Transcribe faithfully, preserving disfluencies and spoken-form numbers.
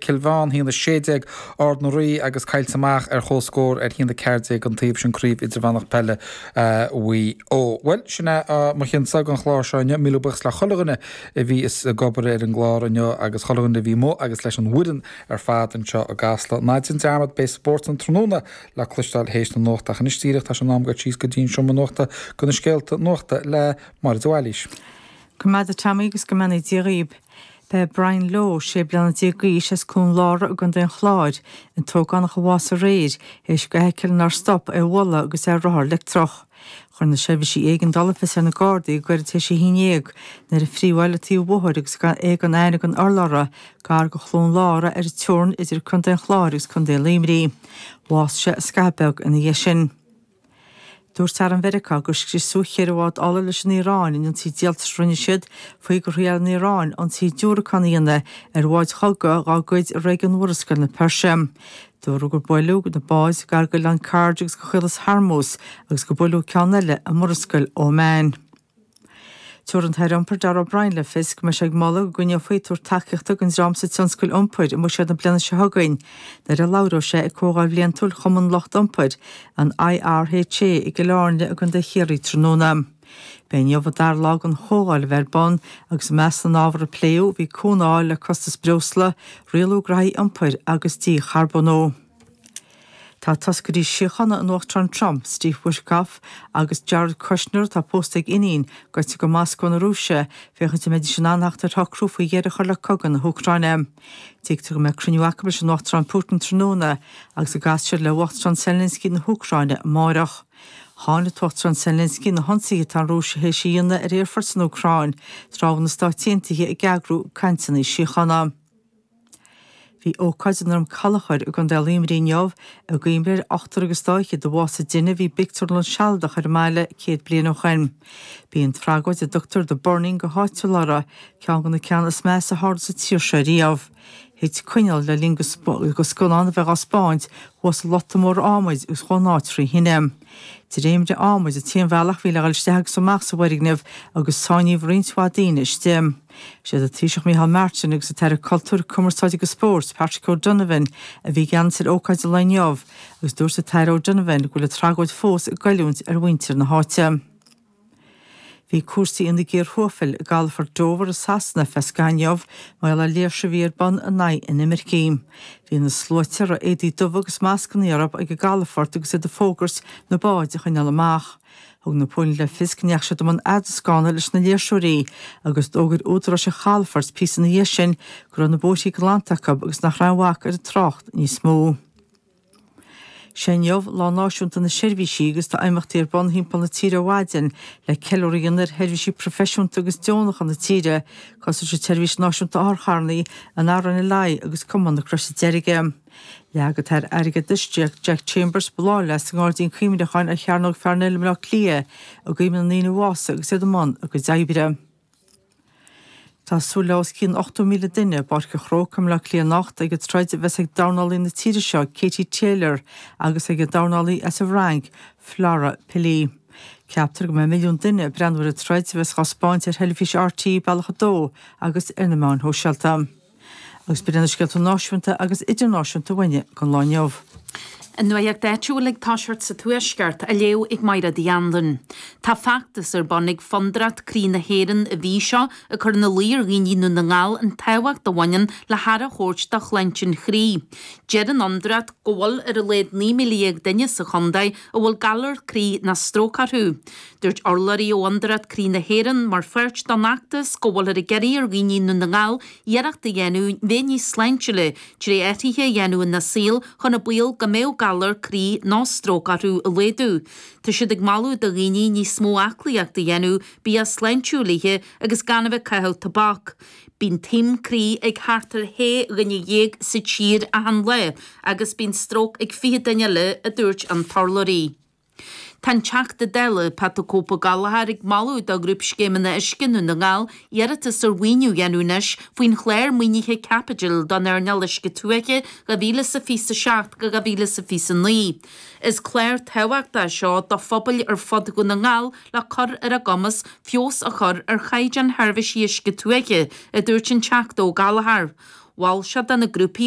Cill Mheáin, a haon a sé déag Ard na Rí agus caillte amach ar chomhscór ar haon a ceathair déag an taobh sin Craobh Idirmheánach Peile Mhaigh Eo. Bhuel, sin é mo chinnsa don chlár seo inniu. Míle buíochas le chuile dhuine a bhí ag obair ar an gclár inniu agus chuile dhuine a bhí amuigh agus leis an bhfoireann ar fad anseo i gCasla. Ná déan dearmad beidh spórt an tráthnóna le cloisteáil théis na nuachta ach anois díreach tá sé in am dul síos go dtí an seomra nuachta do na scéalta nuachta le Máire de Bhailís. Go maith Tommy agus go mbeannaí Dia dhaoib. B'é Brian Lowe sé bliana déag d'aois as Cluain Lára i gContae an Chláir, an t-ógánach a bhásaigh aréir, théis do fheithicil nár stop é a bhualadh agus é ar rothar leictreach. Chuir na seirbhísí éigeandála fios ar na Gardaí go gairid théis a haon déag nuair a phríomháil an taobh bóthair agus é gan aithne gan urlabhra gar do Chluain Lára ar an teorainn idir Contae an Chláir agus Contae Luimnigh. Bhásaigh sé scaitheamh beag ina dhiaidh sin. Dúirt Arm Mheiriceá gur scriosadh ceithre bhád ola leis an Iaráin in ionsaí díoltais a rinne siad faoi gur thriail an Iaráin ionsaí diúracán a dhéanamh ar bháid chogaidh dá gcuid i réigiún Mhurascaill na Peirse. Dúradh gur buaileadh na báid gar d'oileán Kharg agus go Chaolas Hormuz agus gur buaileadh ceann eile i Murascaill Óman. Tabharfaidh an tAire Iompair Darragh O'Brien le fios go mbeidh sé ag moladh go gcoinneofaí tabhairt tacaíochta don dream sa tionscal iompair i mbuiséad na bliana seo chugainn nuair a labhróidh sé ag Comhdháil Bhliantúil Chumann Lucht Iompair an IRHA i gCill Airne i gContae Chiarraí tráthnóna. B'é inniu an dara lá den chomhdháil a bheith ar bun agus i measc na n-ábhar a pléadh bhí cúnamh a fháil le costas breosla, rialú graithí iompair agus dícharbónú. Tá toscairí síochána an Uachtaráin Trump, Steve Witkoff agus Jared Kushner atá pósta ag iníon gaibhte go Moscó na Rúise féachaint an mbeidís in ann theacht ar shocrú faoi dheireadh a chur le cogadh na hÚcráine. Tuigtear go mbeidh cruinniú acu leis an Uachtarán Putin tráthnóna agus go gcasfaidh siad le Uachtarán Zelensky na hÚcráine amárach. Cháin an tUachtarán Zelensky na hionsaithe atá an Rúis théis a dhéanamh ar aerfoirt san Úcráin, tráth a bhfuil na Stáit Aontaithe ag eagrú cainteanna síochána. Bhí ócáid i nDroim Callachair i gContae Luimnigh inniu i gcuimhne ar ochtar agus dá fhichead a bhásaigh i dtine a bhí i bpictiúrlann sealadach ar an mbaile céad bliain ó shin. B'í an tragóid a dtugtar The Burning go háitiúil uirthi, ceann de na ceanna is measa a tharla sa tír seo riamh. Thit coinneal le linn do scannán a bheith á spáint thuas i lota mór adhmaid agus chuaigh an áit trí thine. Dréimire adhmaid an t-aon bhealach a bhí le dhul isteach agus amach sa bhfoirgneamh agus sáinníodh roinnt mhaith daoine istigh. Siad an Taoiseach Micheál Martin agus an tAire Cultúir, Cumarsáide agus Spóirt, Patrick O'Donovan a bhí i gceannas ar ócáid an lae inniu agus dúirt an tAire O'Donovan go bhfuil an tragóid fós ag goilliúint ar mhuintir na háite. Bhí cúrsaí ina gcíor thuaifil i gcalafort Dover i Sasana ar feadh scaithimh inniu mar gheall ar léirsiú a bhí ar bun in aghaidh inimircigh. Bhí na sluaite a raibh éadaí dubha agus mascanna orthu ag an gcalafort agus iad ag fógairt na báid a choinneáil amach. Thug na póilíní le fios go ndeachaigh siad i mbun eadroscána leis na léirseoirí agus d'fhógair údaráis an chalafoirt píosa ina dhiaidh sin go raibh na bóithrí glanta acu agus nach raibh aon bhac ar an trácht níos mó. Sé inniu Lá Náisiúnta na Seirbhísí agus tá imeachtaí ar bun thimpeall na tíre ó mhaidin le ceiliúradh a dhéanamh ar sheirbhísí proifisiúnta agus deonacha na tíre, cosúil leis an tSeirbhís Náisiúnta Otharcharranna, an RNLI agus Cumann na Croise Deirge. Leag an tAire Airgeadais Jack Chambers bláthfhleasc sa nGairdín Cuimhneacháin ar Chearnóg Pharnell i mBaile Átha Cliath i gcuimhne na ndaoine a bhásaigh agus iad i mbun a gcuid oibre. Tá súil le os cionn ochtó míle duine i bPáirc an Chrócaigh i mBaile Átha Cliath anocht ag an troid a bheas ag dornálaí na tíre seo Katie Taylor agus ag an dornálaí as an bhFrainc Flora Pili. Ceaptar go mbeidh milliún duine ag breathnú ar an troid a bheas á spáint ar theilifís RTÉ Bealach a Dó agus ar na meáin shóisialta. Agus b'in iad na scéalta náisiúnta agus idirnáisiúnta uainne don lá inniu. An nuacht áitiúil ag toiseacht sa Tuaisceart á léamh ag Máire Andan. Tá feachtas ar bun ag Fondúireacht Croí na hÉireann an mhí seo ag cur ina luí ar dhaoine i nDún na nGall an tábhacht a bhaineann le haire a thabhairt do shláinte an chroí. Deir an fhondúireacht go bhfuil ar a laghad naoi míle dhéag duine sa chontae a bhfuil galar croí nó stróc orthu. Dúirt urlabhraí ó Fhondúireacht Croí na hÉireann mar pháirt den fheachtas go bhfuilthear ag iarraidh ar dhaoine i nDún na nGall iarracht a dhéanamh bheith níos sláintiúla trí athruithe a dhéanamh ina saol chun an baol go mbeadh galar croí nó stróc orthu a laghdú. Tá siad ag moladh do dhaoine níos mó aclaíocht a dhéanamh, bia sláintiúil a ithe agus gan a bheith ag caitheamh tobac. Bíonn taom croí ag thart ar shé dhuine dhéag sa tír achan lá agus bíonn stróc ag fiche duine eile, a dúirt an t-urlabhraí. Tá an Teachta Dála, Pat 'The Cope Ó Gallchóir ag moladh do Ghrúpscéimeanna Uisce Dhún na nGall iarratas ar mhaoiniú a dhéanamh anois faoin chlár maoinithe caipitil don earnáil uisce tuaithe dhá mhíle is a fiche a seacht go dhá mhíle is a fiche a naoi. Is clár tábhachtach é seo do phobail ar fud Dhún na nGall le cur ar a gcumas feabhas a chur ar chaighdeán sheirbhísí uisce tuaithe, a dúirt an Teachta Ó Gallchóir. Mhol sé do na grúpaí